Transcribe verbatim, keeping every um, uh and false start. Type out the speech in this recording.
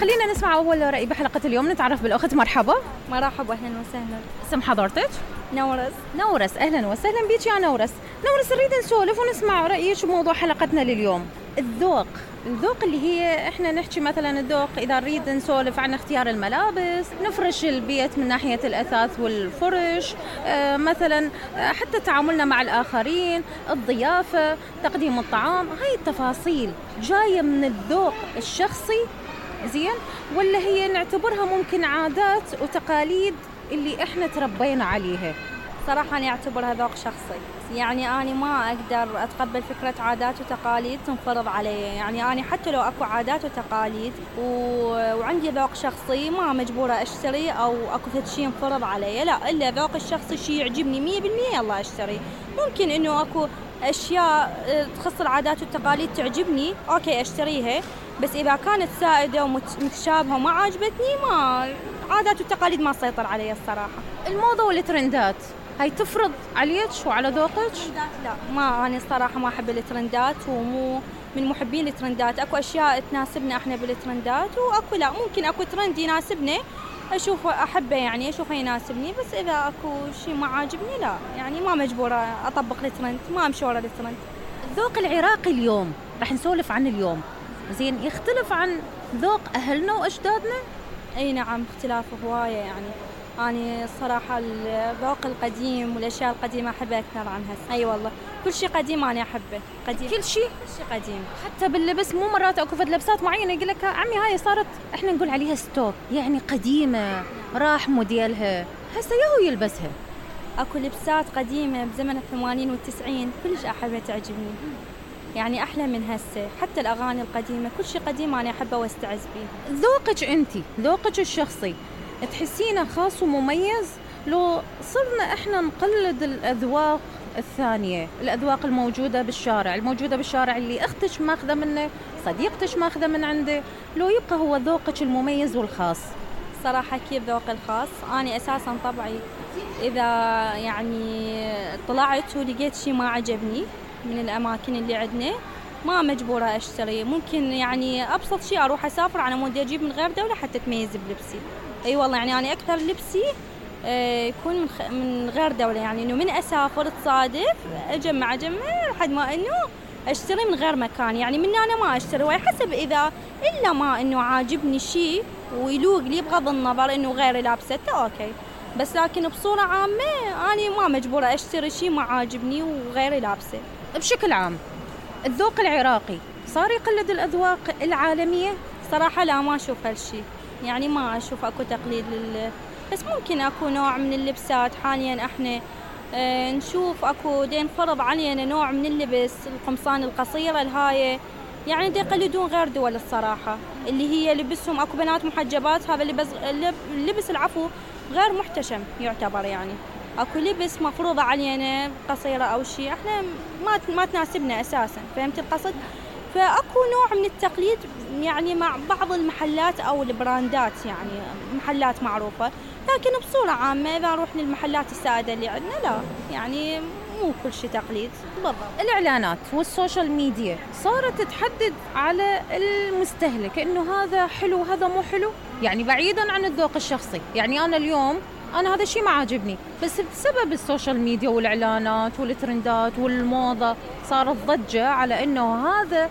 خلينا نسمع أول رأي بحلقة اليوم. نتعرف بالأخت. مرحبا. مرحبا، أهلا وسهلا. اسم حضرتك؟ نورس. نورس، أهلا وسهلا بيك يا نورس. نورس، نريد نسولف ونسمع رأيك بموضوع حلقتنا لليوم. الذوق الذوق اللي هي احنا نحكي مثلا الذوق اذا نريد نسولف عن اختيار الملابس، نفرش البيت من ناحيه الاثاث والفرش، اه مثلا حتى تعاملنا مع الاخرين، الضيافه، تقديم الطعام، هاي التفاصيل جايه من الذوق الشخصي زين، ولا هي نعتبرها ممكن عادات وتقاليد اللي احنا تربينا عليها؟ صراحة أنا أعتبرها ذوق شخصي، يعني أنا ما أقدر أتقبل فكرة عادات وتقاليد تنفرض علي. يعني أنا حتى لو أكو عادات وتقاليد و... وعندي ذوق شخصي ما مجبورة أشتري أو أكو فد شيء ينفرض علي، لا، إلا ذوق الشخصي شيء يعجبني مية بالمية يلا أشتري. ممكن إنه أكو أشياء تخص العادات والتقاليد تعجبني أوكي أشتريها، بس إذا كانت سائدة ومتشابهة وما عجبتني ما عادات والتقاليد ما تسيطر علي الصراحة. الموضة والترندات هاي تفرض عليك وعلى ذوقك؟ لا، ما أنا الصراحة ما أحب الترندات ومو من محبين الترندات. أكو أشياء تناسبنا إحنا بالترندات وأكو لا، ممكن أكو ترند يناسبني أشوفه أحبه يعني أشوفه يناسبني، بس إذا أكو شيء ما عاجبني لا، يعني ما مجبورة أطبق الترند، ما أمشي ورا الترند. الذوق العراقي اليوم رح نسولف عن اليوم زين، يختلف عن ذوق أهلنا وأجدادنا؟ أي نعم، اختلاف هواية. يعني أنا الصراحة الذوق القديم والأشياء القديمة أحبها أكثر عن هسه. أي والله، كل شيء قديم أنا أحبه. قديم كل شيء كل شيء قديم، حتى باللبس. مو مرات أكو فد لبسات معينة يقول لك عمي هاي صارت إحنا نقول عليها ستوك، يعني قديمة راح موديلها هسه ياهو يلبسها. أكو لبسات قديمة بزمن الثمانين والتسعين كلش أحبها تعجبني، يعني أحلى من هسه. حتى الأغاني القديمة كل شيء قديم أنا أحبه واستعز به. ذوقك أنتي، ذوقك الشخصي تحسينه خاص ومميز لو صرنا إحنا نقلد الأذواق الثانية، الأذواق الموجودة بالشارع، الموجودة بالشارع اللي أختك ماخذة منه، صديقتك ماخذة من عنده، لو يبقى هو ذوقك المميز والخاص؟ صراحة كيف ذوق الخاص؟ أنا أساساً طبعي إذا يعني طلعت ولقيت شيء ما عجبني من الأماكن اللي عندنا ما مجبورة أشتري. ممكن يعني أبسط شيء أروح أسافر على مود أجيب من غير دولة حتى تميز بلبسي. أي والله، يعني أنا أكثر لبسي يكون من, خ... من غير دولة، يعني إنه من أسافر تصادف أجمع أجمع لحد ما إنه أشتري من غير مكان. يعني من أنا ما أشتري، وحسب إذا إلا ما إنه عاجبني شيء ويلوق لي بغض النظر إنه غيري لابسته أوكي، بس لكن بصورة عامة أنا ما مجبورة أشتري شيء ما عاجبني وغيري لابسه. بشكل عام الذوق العراقي صار يقلد الأذواق العالمية؟ صراحة لا، ما أشوف هالشيء، يعني ما أشوف أكو تقليد لل... بس ممكن أكو نوع من اللبسات حاليا احنا اه نشوف أكو دين فرض علينا نوع من اللبس، القمصان القصيرة الهاية، يعني دي يقلدون غير دول الصراحة، اللي هي لبسهم أكو بنات محجبات، هذا اللبس اللبس العفو غير محتشم يعتبر، يعني اكو لبس مفروضة علينا قصيرة او شيء احنا ما ما تناسبنا اساسا، فهمت القصد؟ فاكو نوع من التقليد يعني مع بعض المحلات او البراندات، يعني محلات معروفة، لكن بصورة عامة اذا نروح للمحلات السائدة اللي عندنا لا، يعني مو كل شيء تقليد. بالضبط. الاعلانات والسوشيال ميديا صارت تحدد على المستهلك انه هذا حلو هذا مو حلو، يعني بعيدا عن الذوق الشخصي. يعني انا اليوم أنا هذا الشيء ما عاجبني، بس بسبب السوشيال ميديا والإعلانات والترندات والموضة صارت ضجة على إنه هذا